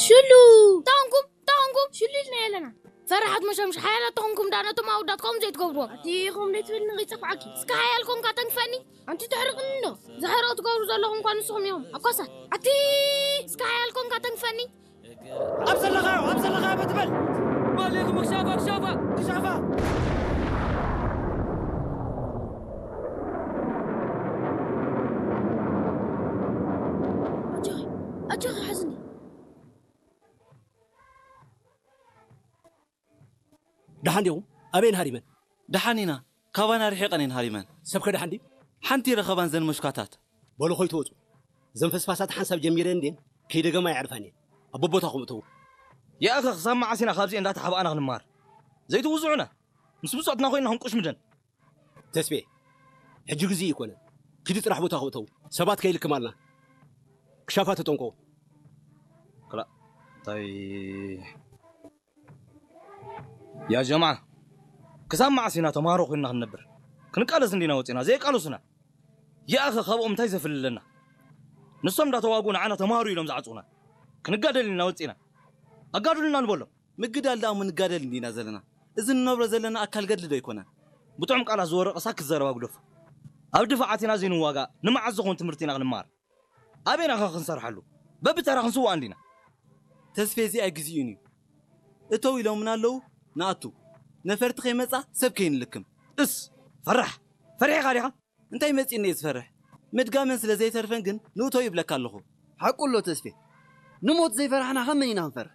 ሽሉ! ታንኩም፣ ታንኩም፣ ሽሉ ኢልና የለና። ፈራሓት መሸምሽ ሓያላት ተኾንኩም ዳ ነቶም ኣወዳት ከምኡ ዘይትገብርዎም። ኣቲ ከምኡ ዘይትብል ንኸይጸፍዓኪ። እስከ ሓያል ኮንካ ተንክፈኒ። ኣንቲ ተሕርቕኒ እንዶ። ዝሕርቕ ትገብሩ ዘለኹም እኳ ንስኹም ኢኹም። ኣኳሳት። ኣቲ እስከ ሓያል ኮንካ ተንክፈኒ። ኣብ ዘለኻዮ፣ ኣብ ዘለኻዮ በትበል። ባሌኹም ክሻፋ፣ ክሻፋ። ክሻፋ። ኣጆኺ፣ ኣጆኺ ሓዝኒ። ደሓን ዲኹም? ኣበይን ሃሪመን? ደሓን ኢና። ካባና ርሒቐን እየን ሃሪመን። ሰብከ ደሓን ድዩ? ሓንቲ ረኸባን ዘን መሽኳታት። በሉ ኾይ ተወጹ። ዘን ፈስፋሳት ሓንሳብ ጀሚረን እንድየን ከይደገማ የዕርፋን እየን። ኣብ ቦቦታኹም እተዉ። ያእኸ ክሳብ መዓስ ኢና ካብዚ እንዳተሓባእና ክንማር? ዘይትውዝዑና። ምስ ብጾትና ኮይንና ክንቁሽምደን። ተስፌ፣ ሕጂ ግዜ ይኮነ። ኪዲ ጥራሕ ቦታኹም እተዉ። ሰባት ከይልክማልና። ክሻፋ ተጠንቀቑ። ክላ-፣ እንታይ ያ ጀምዓ፣ ክሳብ መዓስ ኢና ተምሃሮ ኮይንና ክንነብር? ክንቃለስ እንዲና ወፂና፣ ዘየቃለሱና። ያእኸ ካብኦም እንታይ ዘፍልለና? ንሶም እንዳተዋጉ ንዓና ተምሃሩ ኢሎም ዝዓፅኡና። ክንጋደል ኢልና ወፂና። ኣጋድሉና ንበሎም። ምግዳል ደኣ እሞ ንጋደል እንዲና ዘለና። እዚ ንነብሮ ዘለና ኣካል ገድሊ ዶ ኣይኮነን? ብጥዑም ቃላት ዝወረቐ ሳክት ዘረባ ግደፎ። ኣብ ድፋዓት ኢና ዘይንዋጋእ፣ ንመዓስ ዝኾን ትምህርቲ ኢና ክንመሃር? ኣበይና ኸ ክንሰርሓሉ? በብተራ ክንስዋእ እንዲና። ተስፌ፣ እዚኣ ግዜኡን እዩ። እተው ኢሎምና ኣለዉ፣ ንኣቱ። ነፈርቲ ከይመጻ ሰብ ከይንልክም። እስ፣ ፈራሕ! ፈሪሕኻ ዲኻ? እንታይ መጺእኒ እየ ዝፈርሕ? ምድጋመን ስለ ዘይተርፈን ግን ንእቶ ይብለካ ኣለኹ። ሓቁ ኣሎ ተስፌ። ንሞት ዘይፈራሕና ካብ መን ኢና ክንፈርሕ?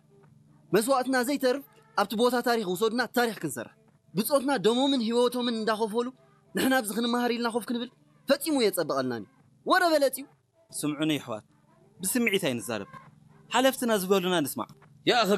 መስዋእትና ዘይተርፍ ኣብቲ ቦታ ታሪኽ ውሰዱና ታሪኽ ክንሰርሕ። ብጾትና ደሞምን ህይወቶምን እንዳኸፈሉ ንሕና ኣብዚ ክንመሃር ኢልና ኮፍ ክንብል ፈጺሙ የጸብቐልናን እዩ። ወረ በለጽ እዩ። ስምዑኒ ኣሕዋት፣ ብስምዒት ኣይንዛረብ። ሓለፍትና ዝበሉና ንስማዕ። ያእኸ